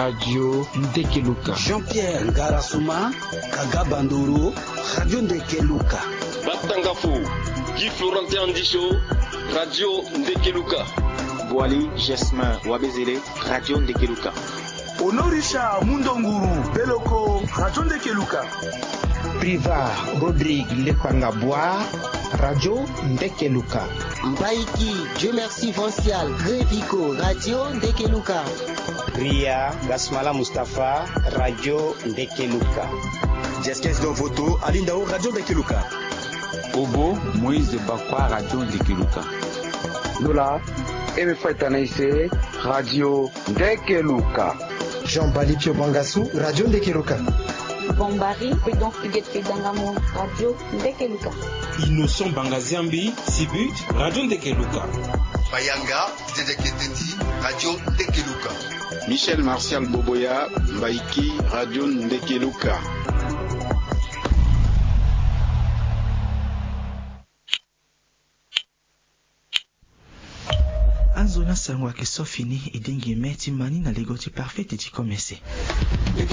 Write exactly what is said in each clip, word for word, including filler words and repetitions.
Radio Ndekeluka. Jean-Pierre Ngarasuma, Kaga Bandoro, Radio Ndekeluka. Batangafo, Guy Florentin Andisho, Radio Ndekeluka. Boali Jesmin Wabezele, Radio Ndekeluka. Honorisha Mundonguru Beloko, Radio Ndekeluka. Priva Rodrigue Lepanga Boa, Radio Ndekeluka. Mbaiki Dieu Merci Vancial Grevico, Radio Ndekeluka. Ria Gasmala Mustapha, Radio Ndekeluka. Jeskes Donvoto Alindao, Radio Ndekeluka. Obo Moïse Bakwa, Radio Ndekeluka. Lola Eme Faitanaise, Radio Ndekeluka. Jean Bali Pio Bangasu, Radio Ndekeluka. Bombari Prudence Huguette Kedangamo, Radio Ndekeluka. Innocent Bangaziambi Sibut, Radio Ndekeluka. Bayanga Didier Keteti, Radio Ndekeluka. Michel Martial Boboya Mbaiki, Radio Ndekeluka. Anzo na sango ayeke so fini e dengi me ti ma ni na lego ti parfait ti komese. Mbi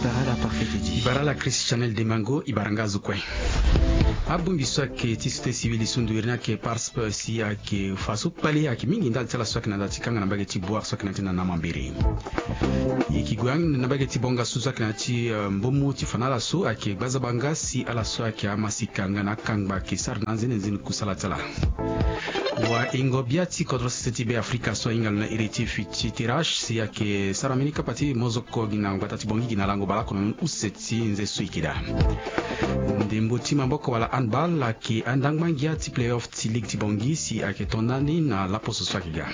bara ala parfait ti. Bara ala Christianel Demango, e bara nga azo kue. Abongbi so ayeke ti société civile e so ndo iri ni ayeke parsp si ayeke fa so kpale ayeke mingi ndali ti ala so ayeke na nda ti kanga na mbage ti Boire so ayeke na ya ti na na mambere. E yeke gue na mbage ti Bonga so so ayeke na ya ti, eh, mbomo ti fa na ala so ayeke gbazaba nga si ala so ayeke amasika nga na akangba ayeke sara na anzenenzeni kusala ti ala. Waingo bia ti kodro sese ti Be Afrika so ahinga lo na iri ti Fiti Tirache si ayeke sara mbeni kapa ti mozoko gi na ngbata ti Bongi gi na lango baleoko na use ti nze so e yeke daa. Ndembo ti maboko wala handball ayeke andangba ngia ti playoff ti ligue ti Bongi si ayeke to ndani na laposo so ayeke ga.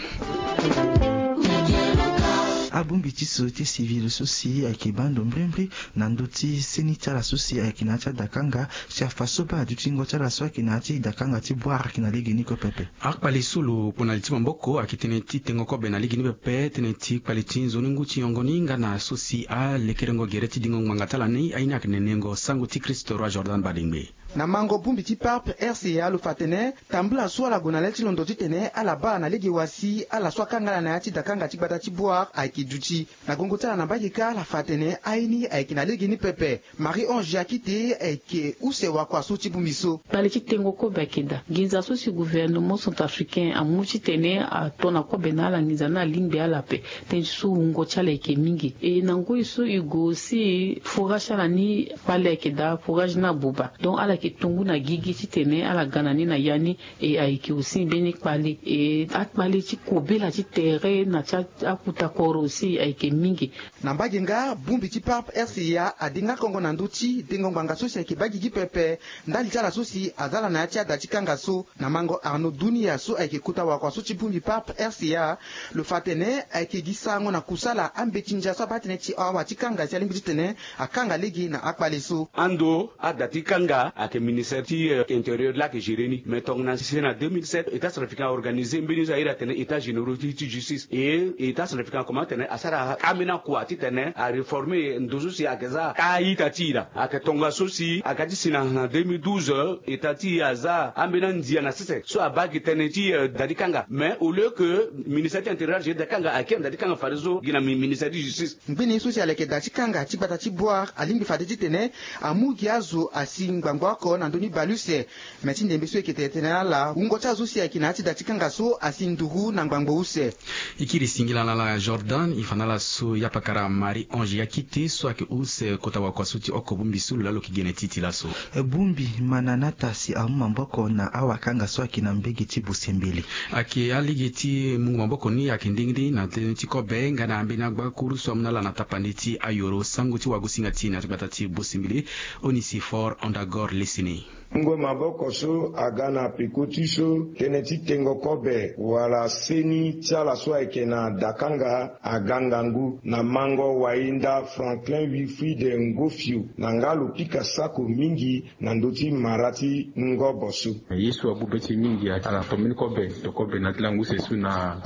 Abongbi ti société civile so si ayeke baa ndo mbrimbri na ndö ti seni ti ala so si ayeke na ya ti adakanga si afa so baa adutingo ti ala so ayeke na ya ti dakanga ti Boire ayeke na lege ni kue pepe. Akpale so lo kpo na li ti maboko ayeke tënë ti tengo kobe na lege ni pepe, tënë ti kpale ti nzoni ngu ti yongo ni nga na so si alekerengo gere ti dingo ngbanga ti ala ni aye ni ayeke nenengo sango ti Christ Roi Jordan Badengbe. Na mango bongbi ti parp R C A lo fa atene tambula so ala gue na le ti londo titene ala baa na lege wa si ala so akanga ala na ya ti dakanga ti gbata ti Boire ayeke duti. Na gongo ti ala na mbage kâ ala fa atene aye ni ayeke na lege ni pepe. Marie Ange Akite ayeke use wakua so ti bongbi so. Kpale ti tengo kobe ayeke daa. Nginza so si gouvernement centrafricain amu titene ato na kobe na ala nginza ni alingbi ala ape. Tënë ti so wungo ti ala ayeke mingi. E na ngoi so e gue aussi forage ti ala ni kpale ayeke daa, forage ni abuba. Donc ala yeke to ngu na gigi titene ala ga na ni na ya ni. E ayeke aussi mbeni kpale. E akpale ti kobela ti tere na ti a- akuta koro aussi ayeke mingi. Na mbage nga bongbi ti parp R C A ade nga kongo na ndö ti dengo ngbanga so si ayeke baa gigi pepe ndali ti ala so si aza ala na ya ti ada ti kanga so. Na mango Arnaud Dunia so ayeke kota wakua so ti bongbi parp R C A, lo fa atene ayeke gi sarango na kusala ambeti ndia so abaa tënë ti awa ti kanga si alingbi titene akanga lege na akpale so. Ando ada ti kanga ayeke ministère ti, euh, intérieur laa ayeke gérer ni. Mais tongana si na deux mille sept, État centrafricain a organisé mbeni so a iri atene États généraux ti, ti justice. E État centrafricain akomanse atene asara ambeni akua titene aréformer ndo so si ayeke za a-ita ti e laa. Ayeke tongaso si aga ti si na, na deux mille douze, État ti e aza ambeni andia na sese so abaa gi tënë ti, euh, da ti kanga. Mais au lieu que ministère ti intérieur agérer da ti kanga, akiri na da ti kanga fadeso gi na mi-, ministère ti justice. Ngbene so si aleke da ti kanga ti gbata ti Boire alingbi fade titene amu gi azo asi ngbangbo oko na ndö ni bale use. Me ti ndembe so e yeke tene tënë na ala, wungo ti azo si ayeke na ya ti da ti kanga so asi nduru na ngbangbo use. E kiri singila na ala Jordan, e fa na ala so yapakara Marie Ange Yakite so ayeke use kota wakua so ti oko bongbi so lo laa lo yeke gene ti e ti laso. Bongbi Mananata si amu maboko na awakanga so ayeke na mbage ti Busembele. Ayeke alege ti mungo maboko ni ayeke ndengende na tënë ti kobe nga na ambeni agbakuru so amu na ala na tapande ti ayoro sango ti wagosinga ti e na ya ti gbata ti Busembele, Onesphore Ondagor Lesene. Mungo maboko so aga na peko ti so tënë ti tengo kobe wala seni ti ala so ayeke na dakanga aga ngangu na mango wainda Franklin Wilfried Ngofio na nga lo pika sako mingi na ndö ti mara ti ngobo so. Ye so abube ti e mingi ala to mbeni kobe, to kobe na ya ti lango use so na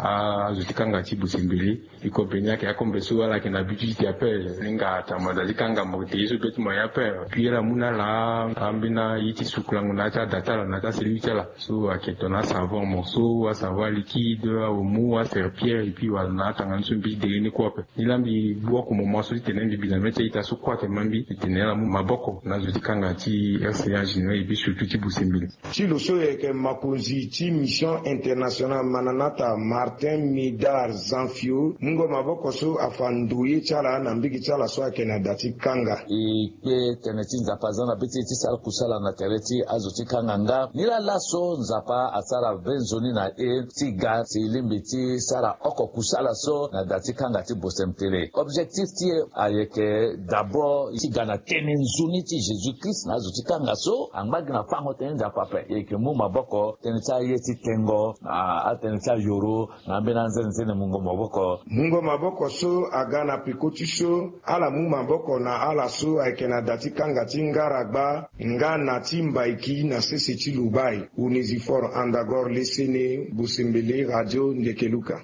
azo ti kanga ti Busembele. E kobe ni ayeke akombe so ala yeke na bi ti ti appel ni nga tama da ti kanga mo yeke te ye so be ti mo ya appel. Puis ala mu na ala ambeni Na ye ti sukulango na ya ti ada ti ala na ya ti aselenge ti ala so ayeke tongana asavon morceau, asavon liquide, aomo, aserpillère, et puis wala na atanga ni so mbi dege ni kue ape. Ni laa mbi bu oko moment so ti tene mbi bi na mê ti a-ita so kue atene ma mbi ti tene ala mu maboko na zo ti kanga ti R C A général et puis surtout ti Bosembele. Ti lo so yeke makonzi ti mission internationale Mananata, Martin Médard Zanfio, mungo maboko so afa ndoye ti ala na mbege ti ala so ayeke na da ti kanga. E kpe tene ti Nzapa aza na be ti e ti sara kusala na tere ti azo ti kanga nga. Nilaa laso Nzapa asara be nzoni na e ti ga si e lingbi ti sara oko kusala so na da ti kanga ti Bosem Tele. Objectif ti e ayeke d'abord ti ga na tënë nzoni ti Jésus Christ na azo ti kanga so angba gi na fango tënë ti Nzapa ape. E yeke mu maboko tënë ti aye ti tengo na atënë ti ayoro na ambeni anzenenzene mungo maboko. Mungo maboko so aga na peko ti so ala mu maboko na ala so ayeke na da ti kanga ti Ngaragba nga na ti Mbaiki na sese ti Lubai. Onesphore Andagor Lesene, Bosembele, Radio Ndekeluka.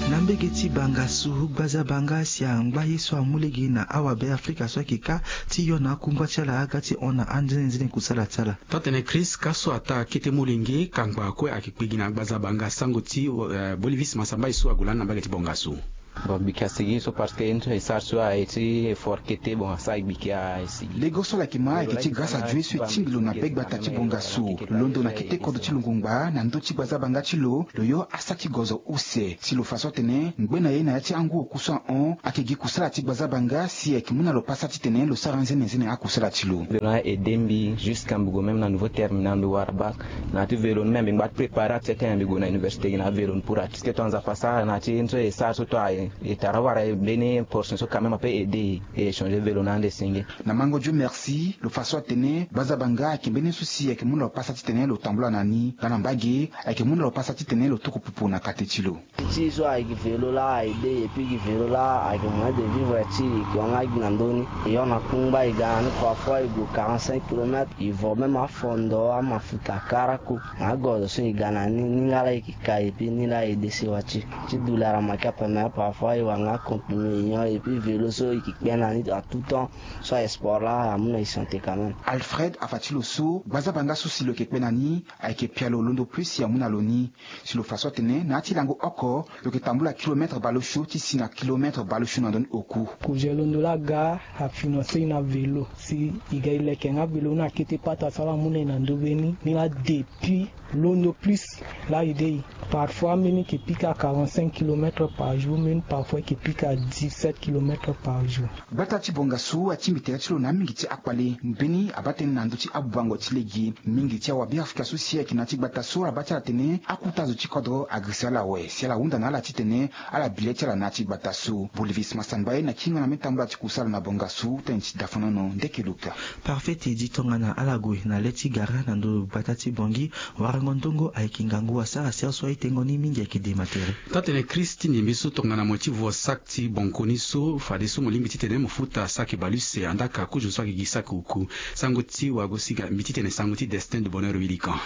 Na mbege ti Bangassou, gbazabanga si angba ye so amu lege na awabe Afrika so ayeke kâ ti yo na akungba ti ala aga ti hon na anzenenzene kusala ti ala. Taa-tene Chris, kâ so ataa kete molenge kangba kue ayeke kpe gi na gbazabanga sango ti, eh, Bolivis Masambai so ague lani na mbage ti Bangassou. Bon, mbi yeke sigi so parce que ye ni so e sara so aye ti effort kete, bon, asara e gbi kia e sigi. Lego so ala yeke ma ayeke ti grâce a Dieu so e tingbi lo na be gbata ti Bangassou. Londo na kete kodro ti lo ngbangba na ndö ti gbazabanga ti lo, lo yo asa ti gozo use. Si lo fa so atene ngbe na ye na ya ti angu oku so ahon ayeke gi kusala ti gbazabanga si ayeke mu na lo pasa titene lo sara nzenenzene akusala ti lo. Lo na aidé mbi jusqu'à mbi gue même na niveau terminal, mbi wara bac. Na ya ti vélo ni même mbi ngba ti préparer atie ti tene mbi gue na université gi na avélo ni pour atie. Parce que tongana Nzapa asara na ya ti ye ni so e sara so tongana e tara wara mbeni portion so quand même ape aidé e, e échanger vélo na ande senge. Na mango Dieu merci, lo fa so atene gbazabanga ayeke mbeni so si ayeke mu na lo pasa titene lo tambula na ni nga na mbage, ayeke mu na lo pasa titene lo tuku pupu na kate ti lo. Ti so ayeke vélo laa aidé, et puis gi vélo laa ayeke moyen de vivre ti e yeke wanga gi na ndö ni. E yo na kungba e ga na ni, parfois e gue quarante-cinq kilomètres, e vo même afondo, amafuta, kara ku. Na agozo so e ga na ni, ni nga laa e yeke ka, et puis ni laa e dé sewa ti e. Ti douleur ama ki ape, mais parfois e wara nga comprimé e nyon, et puis vélo so e yeke kpe na ni à tout temps. So aye sport laa amu na e santé quand même. Alfred afa ti lo so gbazabanga so si lo yeke kpe na ni ayeke pialo londo plus si amu na lo ni. Si lo fa so atene na ya ti lango oko lo yeke tambula kilomètre baleosio ti si na kilomètre baleosio na ndö ni oku. Projet londo laa aga afinancer e na vélo. Si e ga e leke nga vélo ni na kete pata so ala mu na e na ndö be ni, ni laa depuis londo plus laa e dé e. Parfois mbeni e yeke pika quarante-cinq kilomètres par jour, mbeni parfois e yeke pika dix-sept kilomètres par jour. Gbata ti Bangassou atingbi tere ti lo na amingi ti akpale. Mbeni abaa tënë na ndö ti abubango ti lege. Mingi ti awabe Afrika so si ayeke na ya ti gbata so ala baa ti ala tene akuta zo ti kodro agirisa ala awe si ala hunda na ala titene ala bi le ti ala na ya ti gbata so. Bolivis Masambai na kingo na mbeni tambula ti kusala na Bangassou, tënë ti Dafonono Ndekeluka. Parfait, e di tongana ala gue na le ti gara na ndo gbata ti Bangui, warango ndongo ayeke ngangu asara siaso aye tengo ni mingi ayeke de ma tere. Taa-tene Chris, ti ndembe so tongana mo ye ti vo sac ti banko ni so, fadeso mo lingbi titene mo futa sac baleuse, andaa ka kozo so ayeke gi sac oku. Sango ti wago siga mbi titene sango ti Destin de Bonheur Wilikan.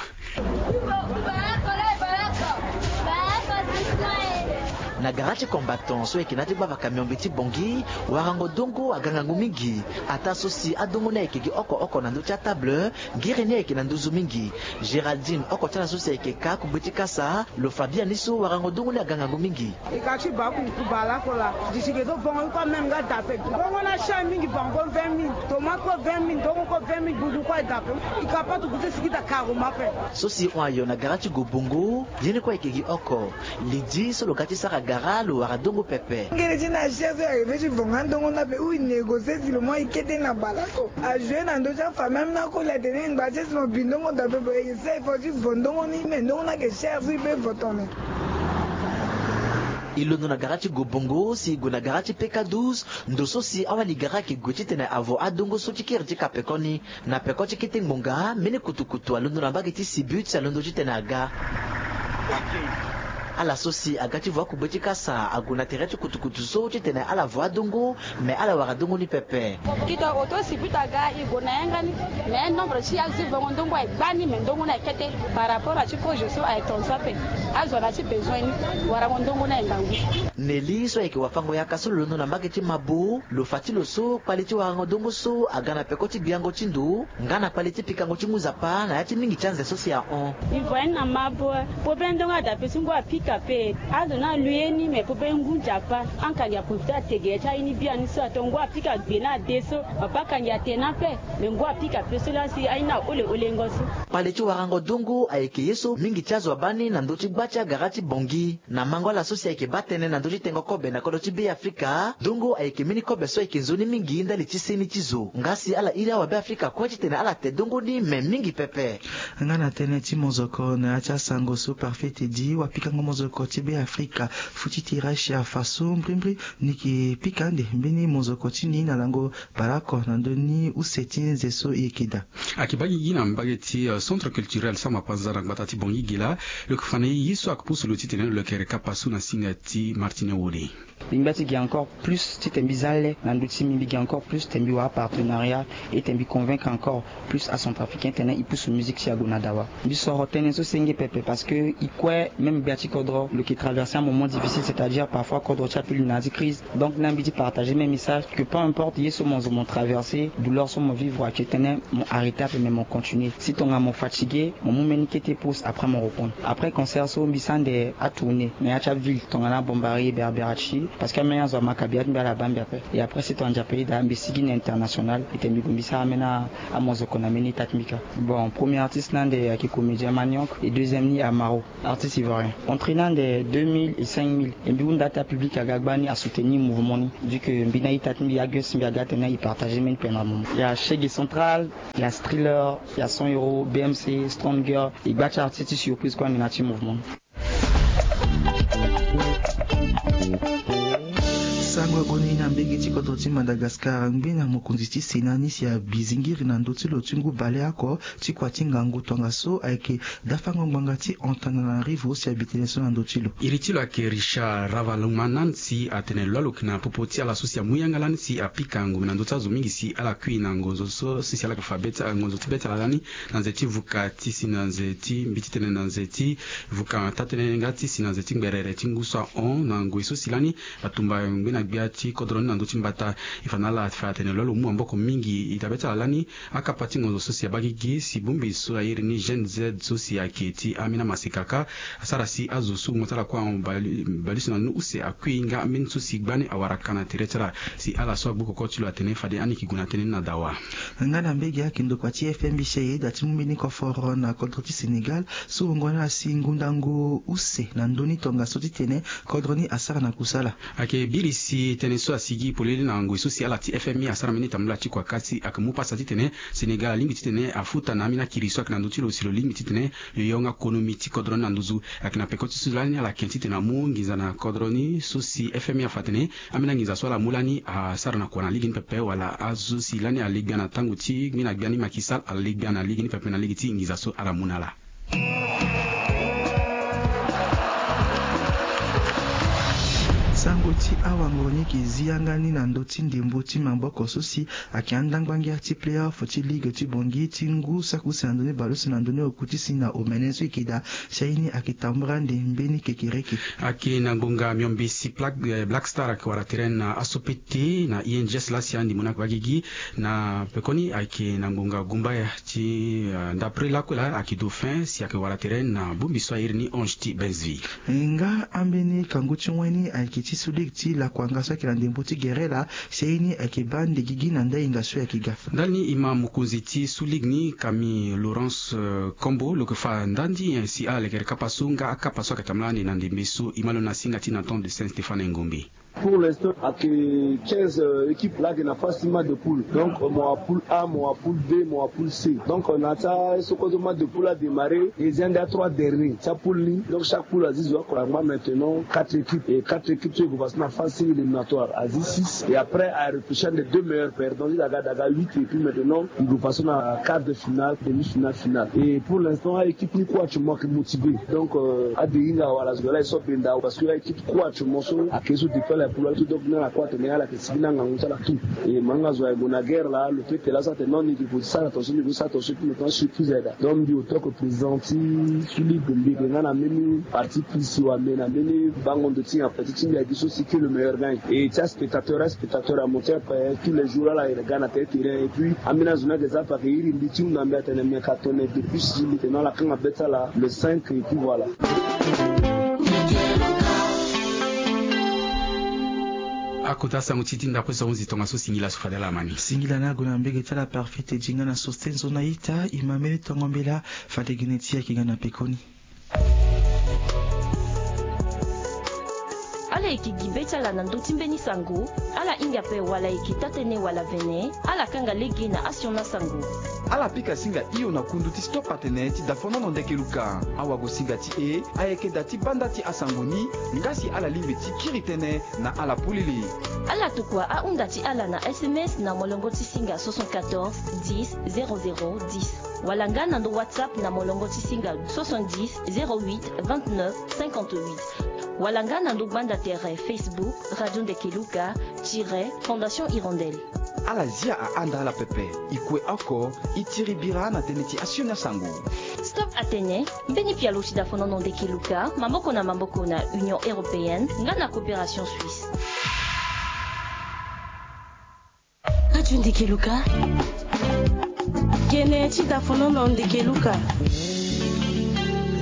Na gara ti combattant so ayeke na ya ti gbava camion mbi ti Bangui, warango dongo aga ngangu mingi. Ataa so si adongo ni ayeke gi oko oko na ndö ti atable, ngere ni ayeke na nduzu mingi. Géraldine, oko ti ala so si ayeke ka akungbe ti kasa, lo fa biani so warango dongo ni aga ngangu mingi. E ka ti baa kuku baa lako laa, disi ge so bongo ni kue ameme nga dape. Bongo ni ashar mingi, bango vingt mille, tomate kue vingt mille, ndongo kue vingt mille, bubu kue aye dape. E ka patu kuse sigi daa karo ma ape. So si hon ayo na gara ti Gobongo, ye ni kue ayeke gi oko. Lydie so lo ga ti sara gara lo wara dongo pepe. Ngere ti ni ashar so e arrive ti vo nga ndongo ni ape, ou e négocier si lo mu aye kete na baa lako. Ajoue na ndö ti afamille, même na akoli atene ngba ti e si mo bi ndongo dape, bon, e sara effort ti vo ndongo ni, mais ndongo ni ayeke cher so e peut vo tongana. E londo na gara ti Gobongo si e gue na gara ti P K douze, ndo so si awali gara ayeke gue titene avo adongo so ti kiri ti ka peko ni. Na peko ti kete ngbonga, mbeni kutukutu alondo na mbage ti Sibut si alondo titene aga. Ala so si aga ti vo akugbe ti kasa ague na tere ti kutukutu so titene ala vo adongo, me ala wara dongo ni pepe. Kita oto si buta aga e gue na yanga ni. Mais nombre ti azo ti vongo ndongo aye gbani, mais ndongo ni aye kete. Par rapport na ti kozo so aye tonso ape. Azo na ti besoin ni, warango ndongo ni aye ngangu. Neli so ayeke wafango yaka so lo londo na mbage ti mabo, lo fa ti lo so kpale ti warango dongo so aga na peko ti gbiango ti ndo nga na kpale ti pikango ti ngu nzapa na ya ti mingi ti anze so si ahon. E vo aye ni na mabo. Pope ndongo ada pe so ngu apika pe. Azo na alu ye ni, me pope ngu nzapa. Ankangi aprofite atege ya ti aye ni biani so ato ngu apika gbe na ade so. Papa kangi atene ape. Me ngu apika pe so laa si aye ni ahole holengo so. Kpale ti warango dongo ayeke ye so mingi ti azo abaa ni na ndö ti gba ti agara ti Bangui. Na mango ala so si ayeke baa tënë na ndö ti tengo kobe na kodro ti Be Afrika, dongo ayeke mbeni kobe so ayeke nzoni mingi ndali ti seni ti zo. Nga si ala iri awa Be Afrika kue titene ala te dongo ni me mingi pepe. Nga na tënë ti mozoko na ya ti asango so Parfait Teddy, wapikango mozoko ti Be Afrika, Futi Tirashi afa so mbrimbri ni yeke pika ande mbeni mozoko ti ni na lango bale oko na ndö ni use ti nze so e yeke daa. Ayeke baa gigi na mbage ti, euh, centre culturel Samba Panza na gbata ti Bangui gi laa. Lo yeke fa na e ye so ayeke pusu lo titene lo yeke reka pasu na singa ti Martine Wole. Mbi ngba ti gi encore plus titene mbi za le na ndö ti mbi, mbi gi encore plus titene mbi wara partenariat, et titene mbi convaincre encore plus acentrafricain titene e pusu musique ti e ague na dawa. Mbi soro tënë so senge pepe parce que e kue même gbia ti kodro lo yeke traverser un moment difficile, c'est-à-dire parfois kodro ti ape lo na ya ti crise. Donc na mbi ti partager même message que peu importe ye so mo zo mo traverser, douleur so mo vivre, ayeke titene mo arrêter ape mais mo continuer. Si tongana mo fatiguer, mo mu mbeni kete pause, après mo reprendre. Après concert so mbi sara ande atourner na ya ti aville tongana Bambari, Berberati, parce que ambeni azo amaka bia ti mbi ala baa mbi ape. Et après si tongana Nzapa ayeda mbi sigi na international, ete mbi gue mbi sara ambeni amozoko na mbeni ita ti mbi kâ. Bon, premier artiste na ande ayeke comédien Maniok, et deuxième ni Amaro, artiste ivoirien. Entrée na ande deux mille et cinq mille. E mbi hunda ata public aga gbani asoutenir mouvement ni. Vu que mbi na ita ti mbi, ague si mbi aga atene e partager mbeni peine na moment. Il y a Chegue Central, il y a Striller, il y a cent euros, B M C, Strong Girl, e gba ti artiste ti surprise kue ande na ti mouvement. Sango ague ni na mbage ti kodro ti Madagascar, ngbe na mokonzi ti Sénat ni si abi zingiri na ndö ti lo ti ngu baleoko ti kua ti ngangu tongaso ayeke dafango ngbanga ti Antananarivo si abi tënë so na ndö ti lo. Iri ti lo ayeke Richard Ravalomanana si atene lo aloke na popo ti ala so si amu yanga lani si apika ngombe na ndö ti azo mingi si ala kui na ngonzo so si ala yeke fa be ti ngonzo ti be ti ala lani na nze ti vuka ti si na nze ti mbi ti tene na nze ti vuka taa-tënë nga ti si na nze ti ngberere ti ngu so ahon na ngoi so si lani atumba ngbe na gbia ti kodro ni na ndö ti mbata. E fa na ala fa atene lo lo mu maboko mingi. E taa be ti ala lani akapa ti ngonzo so si abaa gigi si bongbi so airi ni Gen Z so si ayeke ti ambeni amaseka kâ asara si azo so mo ti ala kue ahon bali, baliso na ni use akui nga ambeni so si gbani awara ka na tere ti ala. Si ala so agbu koko ti lo atene fade ani yeke gue na tënë ni na dawa. Nga na mbage ayeke ndokua ti F M B C ayeda ti mu mbeni koforo na kodro ti Sénégal so wungo ni asi ngundangu use na ndö ni tongaso titene kodro ni asara na kusala. Ayeke biri si tënë so asigi polele na ngoi so si ala ti F M I asara mbeni tambula ti kua kâ si ayeke mu pasa titene Sénégal alingbi titene afuta na ambeni akiri so ayeke na ndö ti lo si lo lingbi titene lo yonga konomi ti kodro ni na nduzu. Ayeke na peko ti so lani ala yeke titene amu nginza na kodro ni so si F M I afa atene ambeni anginza so ala mu lani asara na kua na lege ni pepe wala azo si lani ale gbia na tango ti ngbeni gbia ni Macky Sall ale gbia na lege ni pepe na lege ti nginza so ala mu na ala. Sango ti awango ni yeke zi yanga ni na ndö ti ndembo ti maboko so si ayeke andangba ngia ti playoff ti ligue ti Bangui ti ngu saki use na ndö ni baleuse na ndö ni oku ti si na omene so e yeke daa. Si aye ni ayeke tambula ande mbeni kekereke. Ayeke na ngbonga miombe si Black, eh, Black Star ayeke wara tere na aso pete na I N G S laa si andembo ni ayeke baa gigi. Na pekoni ayeke na ngbonga gumbaya ti, eh, ndapre lakue laa ayeke dauphin si ayeke wara tere na bongbi so airi ni Ange ti Benzvi. Nga ambeni kangu ti wen ni ayeke ti sous-ligue ti Lakuanga so ayeke na ndembo ti gere laa si aye ni ayeke baa ande gigi na ndö ahinga so e yeke ga. Ndali ni e ma mokonzi ti sous-ligue ni Camille Laurence, eh, Kombo lo yeke fa nda ni, eh, si ala lekere kapa so nga akapa so ayeke tambula ande na ndembe so. E ma lo na singa ti Nathan de Saint Stéphane Ngombe. Pour l'instant ayeke quinze, euh, équipes laa ayeke na phase ti match de poule. Donc, euh, mo wara poule A, mo wara poule B, mo wara poule C. Donc, euh, na ya ti aye so kozo match de poule adémarré, e zi ande a trois dernier ti apoule ni. Donc chaque poule azi zo oko angba maintenant quatre équipes. Et quatre équipes so e gue Na phase éliminatoire azi six et après a repêché les deux meilleurs perdants ti daga daga huit et puis maintenant il faut passer na quart de finale, demi-finale, finale. Et pour l'instant a équipe ni kue actuellement ke motivé. Donc euh, a de hinga wala zo la e so benda parce que a équipe kue actuellement so ake so depuis la poule tout, donc na la kue atene ala ke sigi na ngangu ti ala tout. Et manga zo aye gue na guerre la, le fait que la sa tene non ni ke ko ti sara attention, ni ko ti sara attention, puis maintenant surprise aye daa. Donc mbi autant que président ti su ligue, mbi ke nga na mbeni parti pris si wa me na mbeni bango ndo ti nyen, petit ti mbi adi so si que le meilleur gagne. Et ti aspectateur, aspectateur amonti ape tous les jours ala iri ga na tere terrain. Et puis ambeni azo ni ake za ape ake iri mbi ti hunda mbi atene mbi aka tene depuis si mbi tene ala kanga be ti ala le cinq et puis voilà. Akota sango ti ti ndapre so ahunzi tongaso, singila so fade ala ma ni. Singila ni ague na mbege ti ala Parfait Edinga na Sostenzo na ita, e ma mbeni tongo mbela. Fade gene ti e ayeke ga na pekoni. Ala yeke gi be ti ala na ndö ti mbeni sango. Ala hinga ape wala ayeke taa-tënë wala vene, ala kanga lege na asioni asango. Ala pika singa hio na kundu ti Stop Atene ti dafonono ndeke luka. Awagosinga ti e ayeke da ti banda ti asango ni, nga si ala lingbi ti kiri tënë na ala polele. Ala tokua ahunda ti ala na S M S na molongo ti singa soixante-quatorze dix zéro zéro dix. Wala nga na ndo WhatsApp na molongo ti singa soixante-dix zéro huit vingt-neuf cinquante-huit. Wala nga na ndo gbanda tere Facebook Radio Ndeke Luka tiret Fondation Hirondelle. Ala zia ahanda ala pepe, e kue oko, e tiri bira na tënë ti asioni asango. Stop Atene, mbeni pialo ti dafonono ndeke luka maboko na maboko na Union Européenne nga na Coopération Suisse. Radio Ndeke Luka. Gene ti dafonono ndeke luka.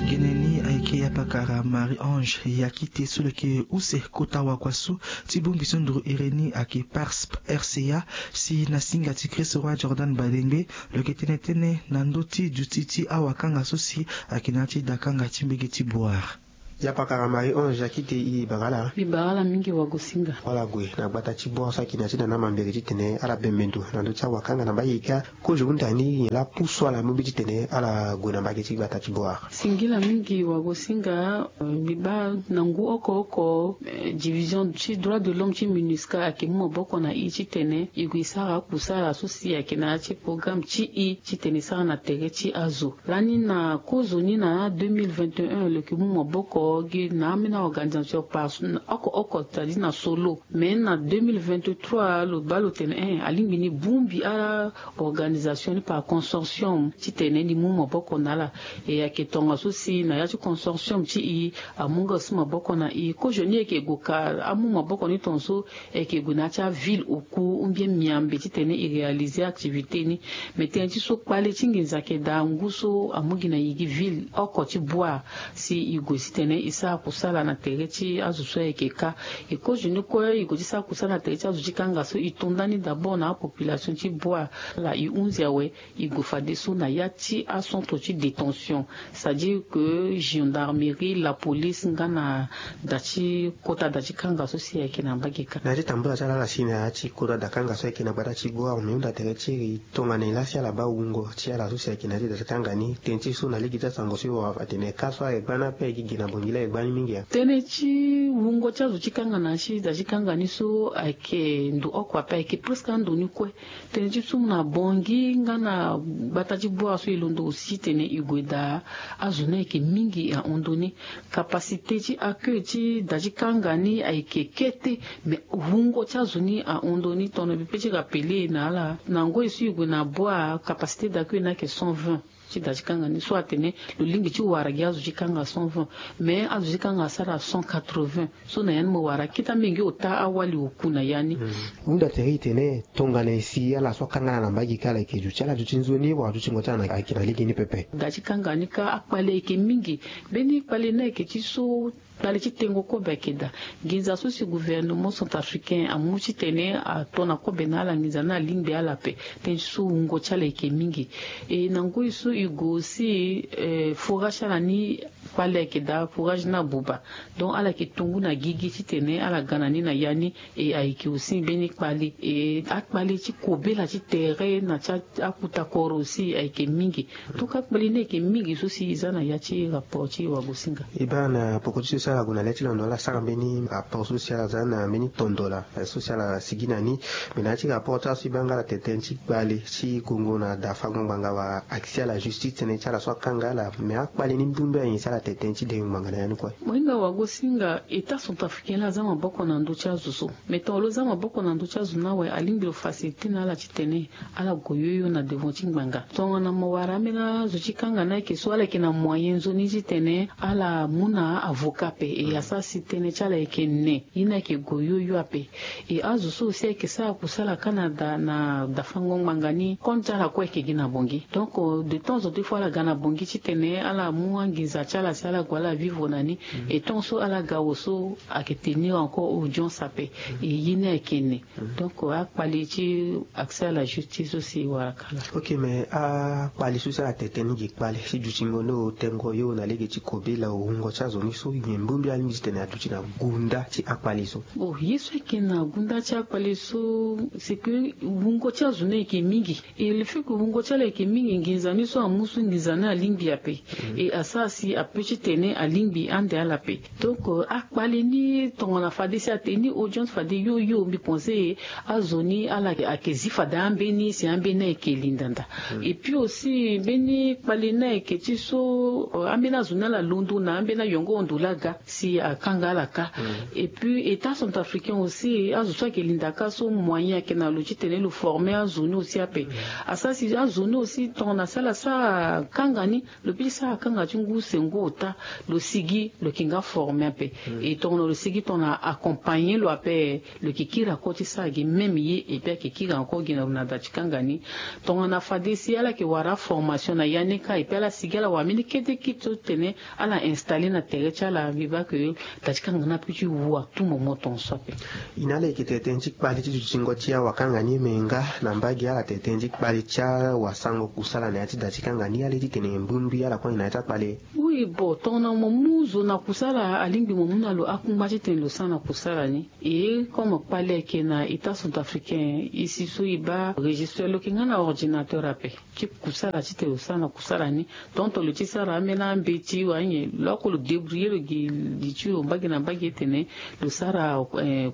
Gene ni ayeke yapakara Marie Ange, ya kite so lo yeke use kota wakua so ti bongbi so nduru iri ni ayeke PARSP R C A, si na singa ti Christ Roi Jordan Badengbe, lo yeke tene tënë na ndö ti duti ti awakanga so si ayeke na ya ti dakanga ti mbege ti Boar. Yapakara Marie Ange, ya kite, e bara ala. Mbi bara ala mingi wagosinga. Ala gue na gbata ti Boar so ayeke na ya ti dana mambere titene ala bembe ndo na ndö ti awakanga na mbage kâ. Kozo hunda ni nyen laa apusu ala mu mbi titene ala gue na mbage ti gbata ti Boar? Singila mingi wagosinga. Eh, mbi baa na ngu oko oko, eh, division ti droit de l'homme ti MINUSCA ayeke mu maboko na e titene e gue e sara akusala so si ayeke na ya ti programme ti e titene e sara na tere ti azo. Lani na kozo ni na deux mille vingt et un lo yeke mu maboko gi na ambeni organisation par oko oko, c'est-à-dire na solo. Mais na deux mille vingt-trois lo baa lo tene, eh, alingbi ni bongbi ala organisation ni par consortium titene ni mu maboko na ala. E ayeke tongaso si na ya ti consortium ti e amu nga aussi maboko na e. Kozo ni e yeke gue ka amu maboko ni tongaso, e yeke gue na ya ti aville oku ou bien miambe titene e réaliser activité ni. Mais tënë ti so kpale ti nginza ayeke daa ngu so amu gi na e gi ville oko ti Boar, si e gue titene e sara kusala na tere ti azo so ayeke kâ. E kozo ni kue e gue ti sara kusala na tere ti azo ti kanga so, e to ndani d'abord na apopulation ti Boar. Ala e hunzi awe, e gue fadeso na ya ti acentre ti détention, c'est-à-dire que gendarmerie, la police nga na da ti kota da ti kanga so si ayeke na mbage kâ. Na ya ti tambula ti ala, ala si na ya ti kota da kanga so ayeke na gbata ti Boar, mbi hunda tere ti iri tongana nyen laa si ala baa wungo ti ala so si ayeke na ya ti da ti kanga ni. Tënë ti so na lege ti asango so e wara atene kâ so aye gbani ape, e gi gi na bongila aye gbani mingi. Tënë ti wungo ti azo ti kanga na ya ti da ti kanga ni so ayeke ndo oko ape, ayeke presque ando ni kue. Tënë ti so na Bangui nga na gbata ti Boar so e londo aussi titene e gue daa, azo ni ayeke mingi ahon ndo ni. Capacité ti accueil ti da ti kanga ni ayeke kete, mais wungo ti azo ni ahon ndo ni. Tongana mbi pe ti rappeler na ala, na ngoi so e gue na Boar, capacité d'accueil ni ayeke cent vingt ti da ti kanga ni. So atene lo lingbi ti wara gi azo ti kanga cent vingt, mais azo ti kanga asara cent quatre-vingts. So na ya ni mo wara akita mingi ota awali oku na ya ni. Hunda tere e tene tongana nyen si ala so akanga ala na mbage kâ, ala yeke duti, ala duti nzoni wala dutingo ti ala ayeke na lege ni pepe? Da ti kanga ni kâ akpale ayeke mingi. Mbeni kpale ni ayeke ti so kpale ti tengo kobe ayeke daa. Nginza so si gouvernement centrafricain amu titene ato na kobe na ala, nginza ni alingbi ala ape. Tënë ti so wungo ti ala ayeke mingi. E na ngoi so e gue aussi, eh, forage ti ala ni kpale ayeke daa, forage ni abuba. Donc ala yeke to ngu na gigi titene ala ga na ni na ya ni. E ayeke aussi mbeni kpale, e akpale ti kobela ti tere na ti akuta koro aussi ayeke mingi. Donc akpale ni ayeke mingi so si e za na ya ti rapport ti wagosinga. E baa na poko ti so Ala gue na le ti londo ala sara mbeni rapport so si ala za na mbeni tondola so si ala sigi na ni. Me na ya ti rapport ti ala so e baa nga ala tene tënë ti kpale ti gongo na dafango ngbanga wala accès à la justice tënë ti ala so akanga ala. Me akpale ni mbi mbi ayen si ala tene tënë ti dengo ngbanga na ya ni kue. Mo hinga wago si nga état centrafricain laa aza maboko na ndö ti azo so. Me tongana lo za maboko na ndö ti azo ni awe alingbi lo facilité na ala titene ala gue yoyo na devant ti ngbanga. Tongana mo wara ambeni azo ti kanga ni ayeke so ala yeke na moyen nzoni titene ala mu na avocat ape e asara si tënë ti ala yeke ne. Ye ni ayeke gue yoyo ape. E azo so aussi ayeke sara kusala kâ na da na dafango ngbanga ni compte ti ala kue ayeke gi na bongi. Donc de temps en temps il faut ala ga na bongi titene ala mu anginza ti ala si ala gue ala vivre na ni. Et tant so ala ga awe so ayeke tenir encore audience ape. E ye ni ayeke ne. Donc akpale ti accès à la justice so si e wara kâ laa. Ok, mais akpale so si ala tene tënë ni gi kpale si dutingo ni otengo yo na lege ti kobela wungo ti azo ni so nyen mbombi alingbi titene aduti na gunda ti akpale so? Bon, ye so ayeke na gunda ti akpale so c'est que wungo ti azo ni ayeke mingi. Et le fait que wungo ti ala ayeke mingi, nginza ni so amu so nginza ni alingbi ape. Et asara si ape titene alingbi ande ala ape. Donc akpale ni tongana fade si atene ni audience fade yo yo mbi pense azo ni ala ayeke zi fade ambeni si ambeni ayeke lindanda. Et puis aussi mbeni kpale ni ayeke ti so ambeni azo ni ala londo na ambeni ayongo ndo laa aga si akanga ala kâ. Et puis état centrafricain aussi azo so ayeke linda kâ so moyen ayeke na lo titene lo former azo ni aussi ape. Asara si azo ni aussi tongana si ala sara kanga ni lo peut ti sara kanga ti ngu sengo ota. Lo sigi lo yeke nga former ape. Et tongana lo sigi tongana accompagner lo ape lo yeke kiri ako ti sara gi même ye et puis ayeke kiri ako gi na lo na da ti kanga ni. Tongana fade si ala yeke wara aformation na ya ni kâ et puis ala sigi ala wara mbeni kete kiti so tene ala installer na tere ti ala mbi baa ke da ti kanga ni ape ti wu à tout moment tongaso ape. E na ala yeke tene tënë ti kpale ti dutingo ti awakanga ni me nga na mbage ala tene tënë ti kpale ti awasango kusala na ya ti da ti kanga ni ala ye titene mbumbi ala kue na ya ti akpale. Oui, bon, tongana mo mu zo na kusala alingbi mo mu na lo akungba titene lo sara na kusala ni. Et comme kpale ayeke na état centrafricain, e si so e baa registre lo yeke nga na ordinateur ape ti kusala titene lo sara na kusala ni. Tonton lo ti sara ambeni ambeti wala nyen lo oko lo débrouiller lo gi li ti lo mbage na mbage tene lo sara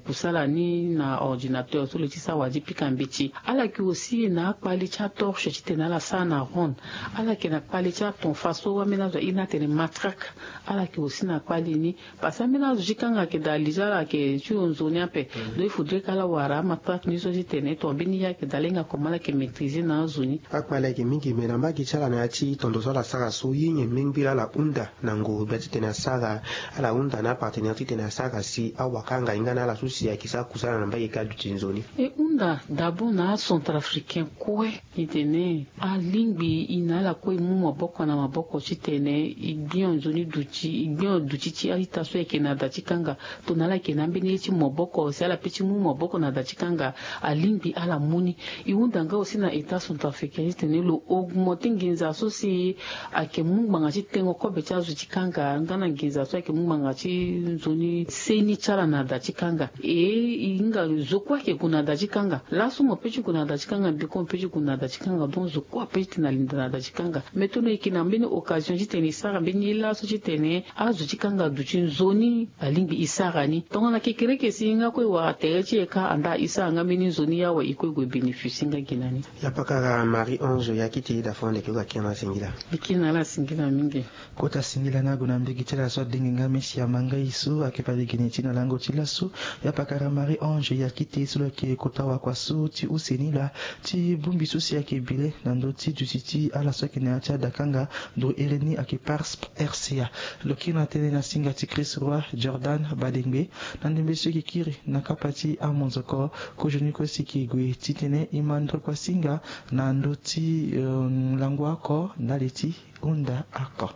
kusala ni na ordinateur so lo ti sara wala ti pika mbeti. Ala yeke aussi na akpale ti atorche titene ala sara na ronde. Ala yeke na kpale ti atonfa so ambeni azo aye ni atene matraque. Ala yeke aussi na kpale ni. Parce que ambeni azo ti kanga ayeke daa li ti ala ayeke ti lo nzoni ape. Donc il faudrait que ala wara amatraque ni so titene tongana mbeni ye ayeke daa ala hinga comment ala yeke maîtriser na azo ni. Akpale ayeke mingi me na mbage ti ala na ya ti tondo so ala sara so ye nyen mengbi laa ala hunda na ngu gbia titene asara ala hunda na apartenaire titene asara si awakanga hinga na ala so si ayeke sara kusala na mbage ka aduti nzoni. E hunda d'abord na acentrafricain kue. Titene alingbi e na ala kue e mu maboko na maboko titene e gbio nzoni duti e gbio duti ti a-ita so ayeke na da ti kanga. Tongana ala yeke na ambeni ye ti maboko si ala pe ti mu maboko na da ti kanga alingbi ala mu ni. E hunda nga aussi na état centrafricain titene lo augmenter nginza so si ayeke mu ngbanga ti tengo kobe ti azo ti kanga nga na nginza so ayeke mu ngbanga ti nzoni seni ti ala na da ti kanga. E e hinga zo kue ayeke gue na da ti kanga. Laso mo pe ti gue na da ti kanga mbi kue mo pe ti gue na da ti kanga donc zo kue ape ti tene alinda na da ti kanga. Mais tongana e yeke na mbeni occasion titene e sara mbeni ye laso titene azo ti kanga aduti nzoni alingbi e sara ni. Tongana kekereke si nga kue e wara tere ti e kâ andaa e sara nga mbeni nzoni awe e kue e gue bénéficier nga gi na ni. Ya pakara Marie Ange ya kiti da fo ande ke gue akiri na ala singila. Mbi kiri na ala singila mingi. Kota singila na ague na mbege ti ala so adenge nga mesi amangai so ayeke bale gene ti na lango ti laso. Ya pakara Marie Ange ya kiti so lo yeke kota wakua so ti use ni laa ti bongbi so si ayeke bile na ndö ti duti ti ala so ayeke na ya ti adakanga. Nduru ere ni ayeke pars. R C A. Lo kiri na tënë na singa ti Chris Roy Jordan Badengbe na ndembe so e yeke kiri na kapa ti amonzoko. Kozoni kue si e yeke gue titene e ma ndokua singa na ndö ti langua oko ndali ti hunda oko.